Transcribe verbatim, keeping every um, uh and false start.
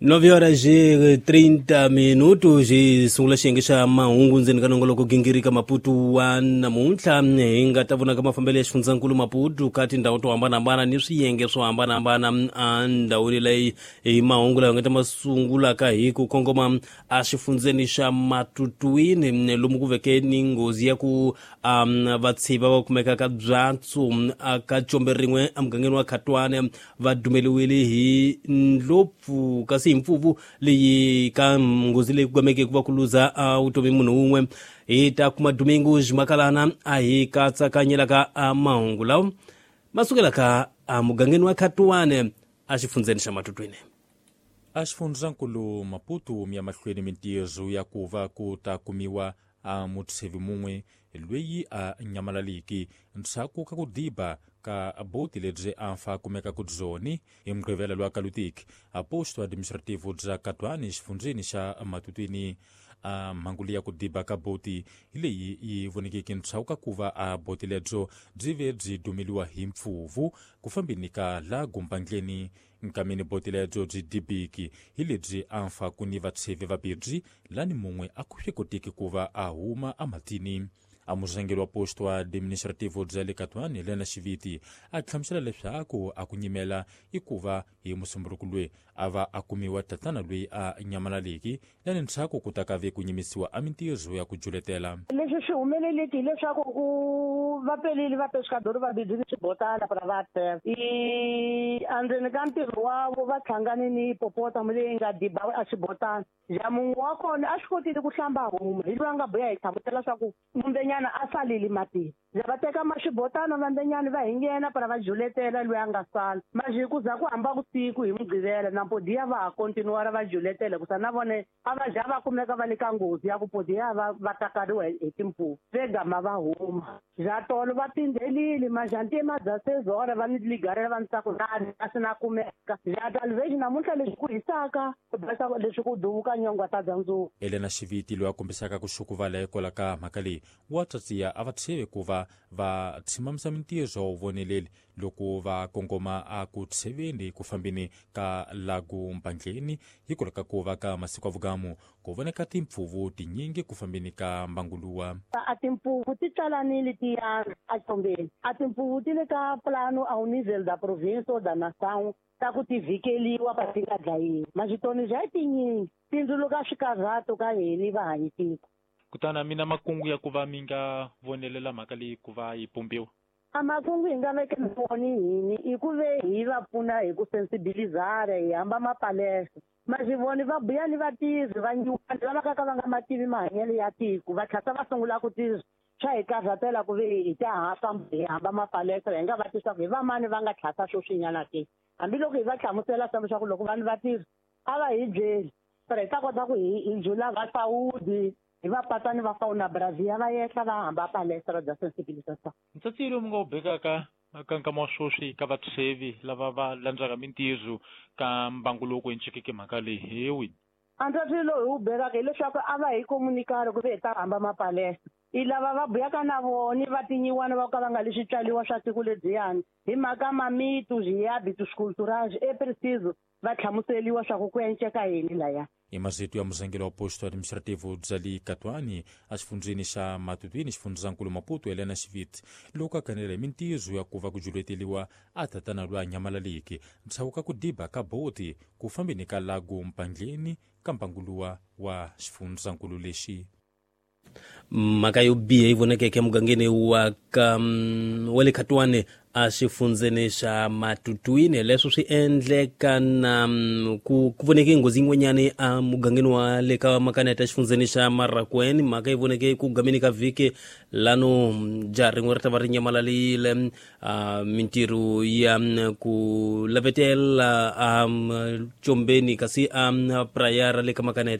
Nove horas e trinta minutos hi sungula xiyenge xa mahungu ndzeni ka nongoloko gingirika Maputo wa namuntlha. Hi nga ta vonaka mafambelo ya xifundzankulu Maputo ka tindhawu to hambanahambana ni swiyenge swo hambanahambana endhawini leyi. Hi mahungu lawa nga ta ma sungulaka hi ku kongoma exifundzeni xa Matutuini, lomu ku veke ni nghozi ya ku um, vatshiva va kumekaka byatso ka combe rin'we emugangeni wa Khatwane va dumeliwile hi ndlopfu, kasi hi mpfuvu leyi ka nghozi leyi ku gameke ku va ku luza vutomi munhu wun'we. Hi ta kuma Domingo Makalana a hi katsakanyelaka mahungu lawa ma sukelaka emugangeni wa Khatwane exifundzeni xa Matutuini. Exifundzankulu Maputo mi ya mahlweni mintirho ya ku va ku ta kumiwa a mutshevi mun'we loyi a nyamalaliki ndzhaku ka ku diba ka boti lebyi a fa kumeka ku byoni hi Mugqivela lwa Kalutiki a posto administrativo bya Katwani xifundzeni xa Matutwini. A mhangu leyi ya ku diba ka boti hi leyi yi vonekeke ndzhaku ka ku va a boti lebyo byi ve byi dumeliwa hi mpfuvu ku fambeni ka la gumbandleni. Nkameni boti lebyo byi dibiki hi lebyi a fa ku ni vatshevi vabirhi lani mun'we a ku swi koteki ku va a huma ematini. A murhangeri wa posto administrativo bya le Katwani Helena Xiviti a hlamusela leswaku a ku nyimela i ku va hi Musumbunuko loyi a va a kumiwa tatana loyi a nyamalaleki lani ndzhaku ku ta ka ve ku nyimisiwa a mintirho ya ku juletela. Leswi swi humeleleki hileswaku ku va pelile va pescador va bidini swibotana para va teva i endzeni ka ntirho wavo va hlangane ni hipopotamo leyi nga diba a xibotana. Ja mun'we wa kona a swi kotile ku hlamba huma hi loyi a nga buya hi hlamusela swa ku mumbenyana a salile matini. Ja va teka maxibotana vambenyana va hi nghena para va juletela loyi a nga sala. Maji ku za ku hamba vusiku hi Mugqivela na podiya va ha kontinuara va juletela ku sa na vone a va ja va kumeka va le ka nghozi ya ku podiya va va takariwa hi timpfuvu ve gama va huma. Ja tolo va pindzelile majantima bya sezora va ni ligarela va ni tsaku nani a swi na kumeka. Ja talvez namuntlha leswi ku hisaka ku basa leswi ku duvuka nyongwa ta bya ndzuku. Elena Xiviti loyi a kombisaka ku xukuvala hikwalaho ka mhaka leyi wa tsatsiya a va tsheve ku va va tshimamisa mintirho wa voneleli loko va kongoma a ku tsheveni ku fambeni ka lagu mpandleni hikwalaho ka ku va ka masiku ya vugamu ku voneka timpfuvu tinyingi ku fambeni ka mbanguluwa. A timpfuvu ti tsalanile ti yandza ecombeni. A timpfuvu ti le ka plano ao nível da província ou da nação ta ku ti vhikeliwa pa ti nga dlayiwi. Maxitoni bya tinyingi tindzuluka swikarhato ka hini va hanyi tiko. Kutani mina makungu ya ku va mi nga vonelela mhaka leyi ku va yi pumbiwa? A makungu hi nga vekela voni hini i ku ve hi va pfuna hi ku sensibilizara hi hamba mapalesa. Maxivoni va buya ni vatirhi va nyuwana lava ka ka va nga mativi mahanyelo ya tiko va tlhasa va sungula ku tirha swa hi karhatela ku ve hi ta ha famba hi hamba mapalesa hi nga va tisa ku hi vamani va nga tlhasa swoswinyana ke. Hambiloko hi va hlamusela swa leswaku loko vanhu va tirha a va hi byeli para hi ta kota ku hi hi jula va sawudi hi va patani va fauna Brazil va yehla va hamba palestra bya sensibilisation. Ntsatsi lowu mi nga wu bekaka ka nkama wa sweswi ka vatshevi lava va landzaka mintirho ka mbangu lowu ku encikeke mhaka leyi hi wini? A ntsatsi lowu hi wu bekaka hileswaku a va hi komunikari ku ve hi ta hamba mapalestra. I lava va buyaka na vona va tinyiwana va ka va nga le switswaliwa swa tiko lebyiyani hi mhaka mamitu zwihabitus culturais e preciso va hlamuseliwa swa ku ku enceka yini laya. Hi masiku ya murhangeri wa posto administrativo bya le Katwani exifundzeni xa Matutwini xifundzankulu Maputo Helena Xiviti loko a kanela hi mintirho ya ku va ku juleteliwa a tatana loyi a nyamalaleki ndzhaku ka ku diba ka boti ku fambeni ka lagu mpandleni ka mbanguluwa wa xifundzankulu lexi. Mhaka yo biha yi vonakeke emugangeni wa ka wa le Khatwane exifundzeni xa Matutuini. Leswo swi endleka na ku ku voneke nghozi yin'wanyani emugangeni wa le ka Makaneta exifundzeni xa Marakweni. Mhaka yi voneke ku gameni ka vhiki lano jaha rin'we ri ta va ri nyamalarile mintirho ya ku lavetela ecombeni kasi a praya ra le ka Makaneta.